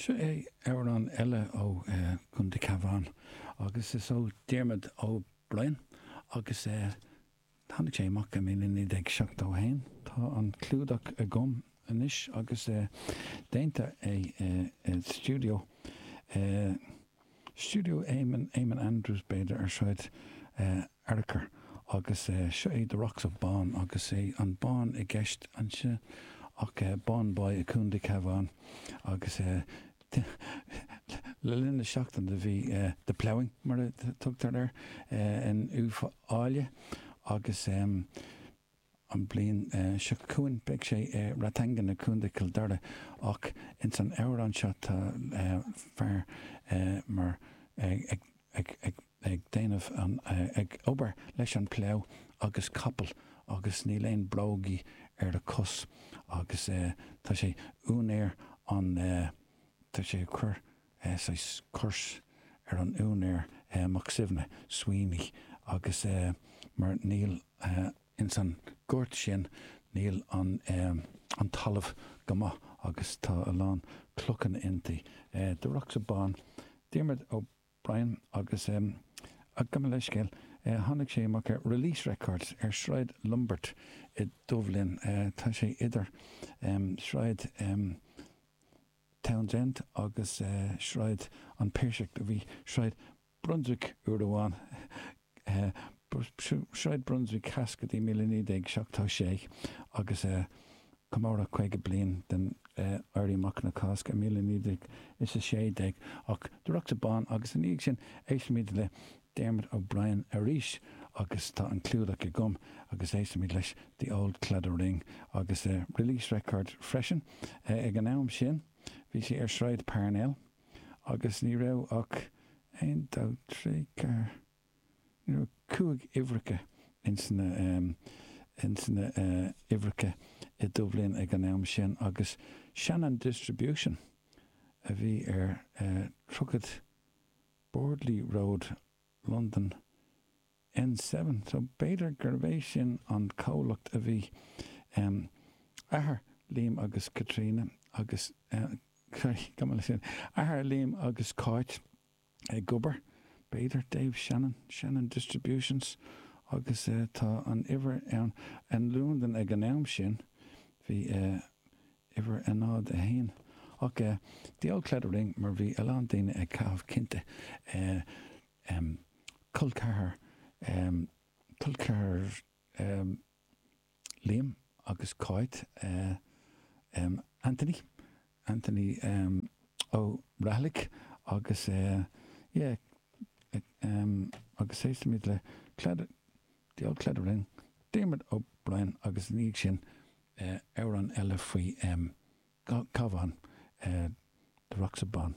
Seo é amhrán eile ó Chontae Cabhán agus is ó Diarmuid O'Brien agus tháinig sé amach i 1971. Tá an clúdach agam anois agus déanta é i stiúideo Stiúideo Eamon, Eamon Andrews b'fhéidir, ar Shráid Fhearchair agus seo é The Rocks of Bawn agus é an Bawn i gceist anseo ach Bawnboy i Contae Cabhán agus le linn na seachtaine bhí The Ploughing mar a tugtar air in Uíbh Fhailí agus An bhliain seo chugainn beidh sé i Rathangan i Contae Chill Dara ach ins an amhrán seo tá fear mar ag ag déanamh an ag obair leis an plough agus capall agus níl aon brógaí ar a cos agus tá sé úinéir an tá sé ag cur saghas curse ar an úinéir Mac Suibhne, Sweeney, agus mar níl ins an gort sin níl an an talamh go maith agus tá a lán clochanna inti. The Rocks of Bawn, Diarmuid O'Brien agus gabh mo leithscéal, tháinig sé amach ar Release Records ar Sráid Lombard i Dubhlinn. Tá sé idir Sráid Townsend agus Sráid an Phiarsaigh. Do bhí Sráid Brunswick uair amháin, Sráid Brunswick Theas go dtí 1976 agus comóradh 50 bliain den Éirí Amach na Cásca i 1916 ach The Rocks of Bawn agus ina dhiaidh sin éistfimid le Diarmuid O'Brien arís agus tá an clúdach agam agus éistfimid leis The Old Claddagh Ring agus Release Records freisin. Ag an am sin bhí sé ar Sráid Parnell agus ní raibh ach aon, dó, trí, ceathair, ní raibh cúig uimhreacha ins na ins na uimhreacha i Dubhlinn ag an am sin agus Shannon Distribution a bhí ar 30 Bordley Road, Londain, N7. So b'fhéidir gurbh é sin an comhlacht a bhí athair Liam agus Caitríona agus, sorry, gabh mo leithscéal, athair Liam agus Cáit ag obair, b'fhéidir, Dave Shannon, Shannon Distributions agus tá an uimhir ann in Londain ag an am sin, bhí uimhir a 0, 1. Ach The Old Claddagh Ring mar bhí a lán daoine ag caitheamh cinnte col ceathar col ceathar Liam agus Cáit Anthony Anthony Ó Raghallaigh agus yeah agus éistfimid le Claddagh The Old Claddagh Ring Diarmuid O'Brien agus ina dhiaidh sin amhrán eile faoi Cabhán, The Rocks of Bawn.